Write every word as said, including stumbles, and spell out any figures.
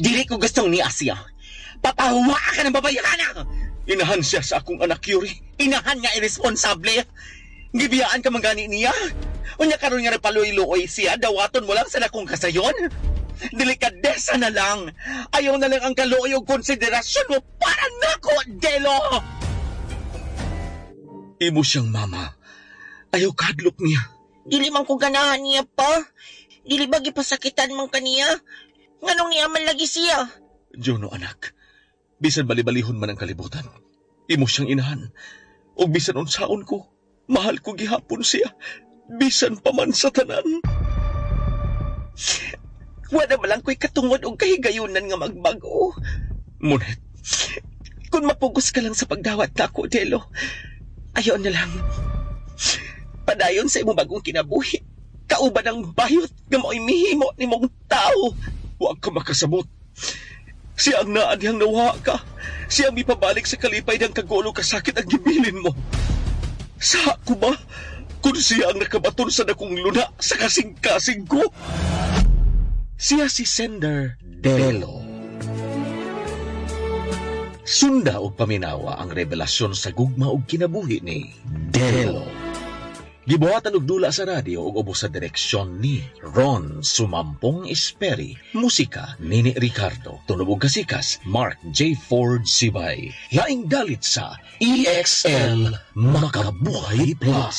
Dili ko gustong ni Asya. Papahuwa ka ng babayhana! Inahan siya sa akong anak, Yuri. Inahan nga irresponsable. Gibiyaan ka man gani niya. Unya karon nga nagpaluoy-luoy siya, dawaton mo lang sa dakong kasayon. Delikadesa na lang. Ayaw na lang ang kaluoy og konsiderasyon mo para nako, Delo! Imo siyang mama. Ayaw kadlok niya. Dili man ko ganahan niya pa. Dili ba gipasakitan man kaniya? Nganong niya man lagi siya? Juno, anak. Bisan bali-balihon man ang kalibutan. Imo siyang inahan. O bisan unsaon ko, mahal ko gihapon siya. Bisan pa man sa tanan. Wala man lang ko'y katungod og kahigayunan nga magbago. Monet, Kung mapugos ka lang sa pagdawat nako, Delo, ayaw na lang. Padayon sa imong bagong kinabuhi. Kauban ang bayot nga mao'y mihimo nimong tao. Wa ka makasabot. Siya ang naa dihang nawa ka. Siya ang mipabalik sa kalipay ng kagulo kasakit ang gibilin mo. Sa ko ba? Kung siya ang nakabaton sa dakong luna sa kasing-kasing ko. Siya si Sender Delo. Sunda og paminawa ang revelasyon sa gugma ug kinabuhi ni Delo. Gibuhatan og dula sa radyo ug ubos sa direksyon ni Ron Sumampong Esperi. Musika Nini Ricardo. Tunog ug kasikas Mark J. Ford Sibay. Laing dalit sa E X L Makabuhay Plus.